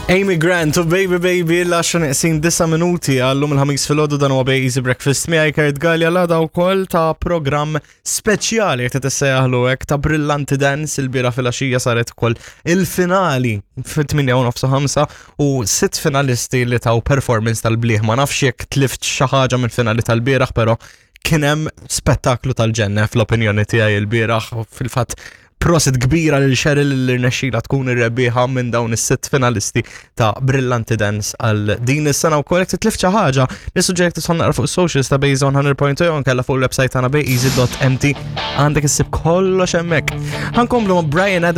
Amy Grant u Baby Baby l-10 neqsin 9 minuti għallum il-ħamis fil-ħodu dan huwa Bay Easy Breakfast miegħi Kurt Gallia l-għada wkoll ta' programm speċjali jekk tissejjaħlu hekk ta' Brillanti Dance il-bira fil-għaxija saret ukoll il-finali fit-8 u nofs 5 u sitt finalisti li taw performance tal-bliħ ma nafx jekk tlift xi ħaġa mill-finali tal-bieraħ però kien hemm spettaklu tal-ġenna fl-opinjoni tiegħi il-bieraħ fil-fatt prosit kbira lil Cheryl li rnexxila tkun ir-rebbieħa minn dawn is-sitt finalisti ta' Brillanti Dance għal din is-sena wkoll jekk titlif xi ħaġa, nissuġġerek tidħol naqra fuq is-socials ta' Base 100.2 kella fuq il-website tagħna bayeasy.mt għandek issib kollox hemmhekk. Ħankomplu ma' Brian Adams.